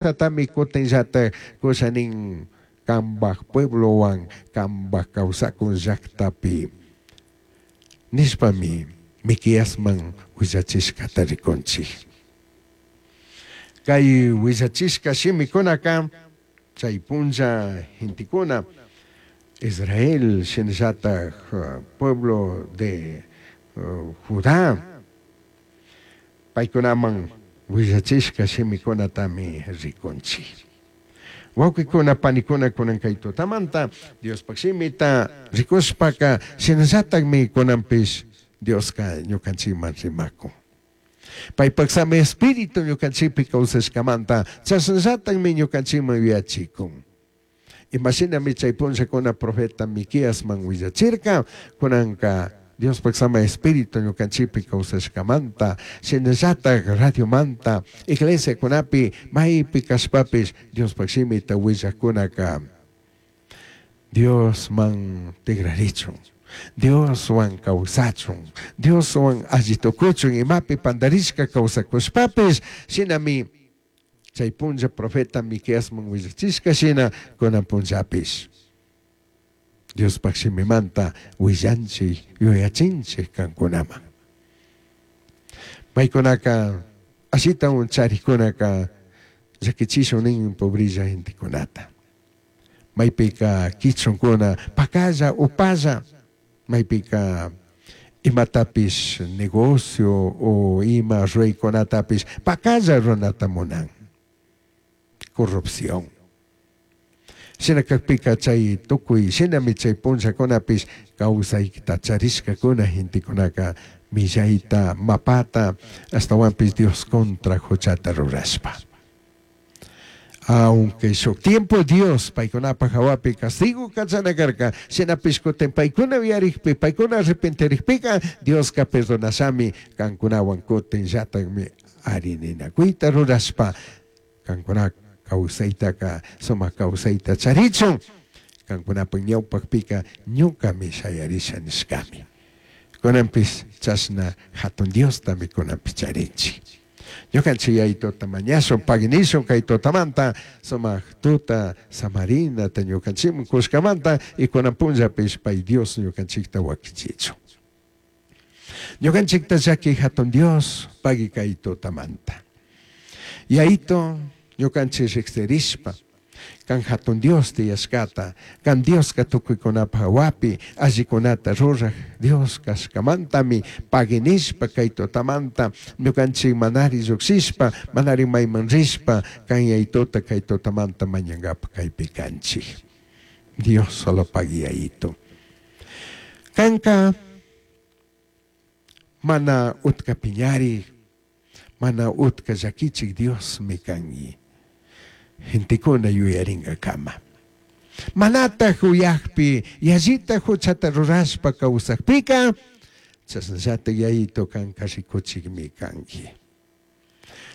Tatami kutinllatak kusha nin kambaj pueblowan kambaj kawsakun llaktapi nishpami Miqueasman willachishkata rikunchik. Kay willachishka shimikunaka chay punlla gentekuna Israel shinallatak pueblo de Judá paykunaman willachishka shimikunatami rikunchik. Wawqikuna panikuna kunan kay tutamanta Diospaj shimita rikushpaka shinallatakmi kunanpish Dioska ñukanchikman rimakun. Paypaj sami espíritu ñukanchikpi kawsashkamanta chashnallatakmi ñukanchikman yuyachikun. Imashinami chay punllakuna profeta Miqueasman willachirka, kunanka Diospaj sama espíritu ñukanchikpi kawsashkamanta, shinallatak radiomanta, iglesiakunapi maypi kashpapish Diospaj shimita willakkunaka Diosman tigrarichun, Dioswan kawsachun, Dioswan alli tukuchun imapi pandarishka kawsakushpapish shinami chay punlla profeta Miqueasman willachishka shina kunan punllapish Diospaj shimimanta willanchik yuyachinchik kankunaman. Paykunaka ashitawan charikkunaka llakichishun nin pobrilla gentekunata. Maypika kichunkuna pakalla upalla maypika imatapish negocio o ima ruraykunatapish pakalla runata munan. Corrupción. Shina kakpika chay tukuy shinami chay punllakunapish kawsayta charishkakuna gentekunaka millayta mapata ashtawanpish Dios contra huchata rurashpa. Aunque shuk tiempo Dios paykunapaj hawapi castigo kachana karka, shinapish kutin paykuna uyarikpi, paykuna arrepentirikpika, Dioska perdonashami kankunawan kutin llatakmi ari ninakuyta rurashpa kankuna kawsaytaka sumak kawsayta charichun kankunapaj ñawpakpika ñukami shayarisha nishkami. Kunanpish chashna hatun Diostami kunanpish charinchik. Ñukanchik yayituta mañashun paginishun kay tutamanta sumak tuta samarinata ñukanchikman kushkamanta y kunan punllapish pay Dios ñukanchikta wakichichun. Ñukanchikta llaki hatun Dios pagui kay tutamanta. Yayito ñukanchik riqsirishpa kan hatun Dios tiyashkata, kan Dioska tukuykunapaj hawapi allikunata ruraj Dios kashkamantami paginishpa kay tutamanta ñukanchik manari llukshishpa manari mayman rishpa kan yayituta kay tutamanta mañankapak kaypi kanchik. Dios solo pagui yayito. Kanka mana utka piñarik, mana utka llakichik Diosmi kanki. Gentekuna yuyarinkakama. Manataj uyakpi yallita huchata rurashpa kawsakpika chashnallatak yayito kanka rikuchikmi kanki.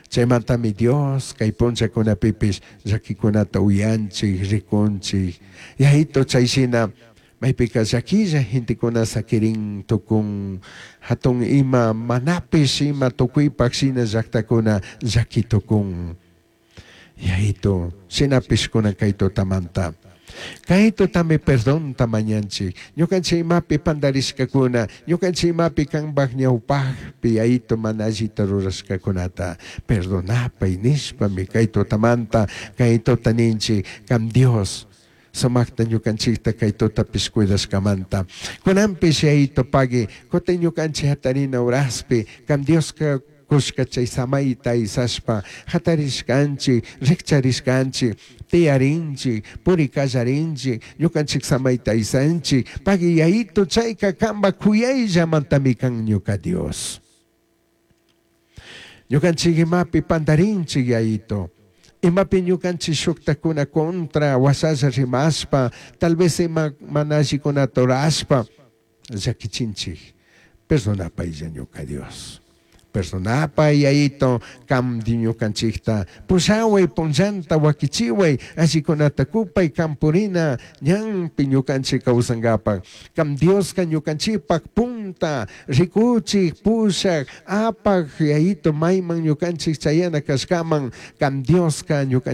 Chaymantami Dios kay punllakunapipish llakikunata uyanchik, rikunchik. Yayito chayshina maypika llakilla gentekuna sakirin tukun hatun ima manapish ima tukuypak shina llaktakuna llaki tukun. Yayito, shinapish kunan kay tutamanta. Kay tutami perdonta mañanchik. Ñukanchik imapi pandarishkakuna, ñukanchik imapi kanpaj ñawpajpi yayito mana allita rurashkakunata perdonapay nishpami kay tutamanta kay tuta ninchik kan Dios sumakta ñukanchikta kay tutapish cuidashkamanta. Kunanpish yayito pagui kutin ñukanchik hatarina uraspi kan Dioska kushka chay samayta aysashpa hatarishkanchik, rikcharishkanchik, tiyarinchik, purikallarinchik, ñukanchik samayta aysanchik, pagui yayito chayka kanpa kuyayllamantami kan ñuka Dios. Ñukanchik imapi pandarinchik yayito. Imapi ñukanchik shuktakuna contra washalla rimashpa, tal vez ima mana allikunata rurashpa llakichinchik. Perdonapaylla ñuka Dios. Perdonapay Yayito, kam ñukanchikta pushaway punllanta wakichiway allikunata kupay kampurina ñanpi ñukanchik kawsankapak. Kam Dioska ñukanchikpak punta rikuchik pushak apak Yayito mayman ñukanchik chayana kashkaman kam Dioska ñukanchik.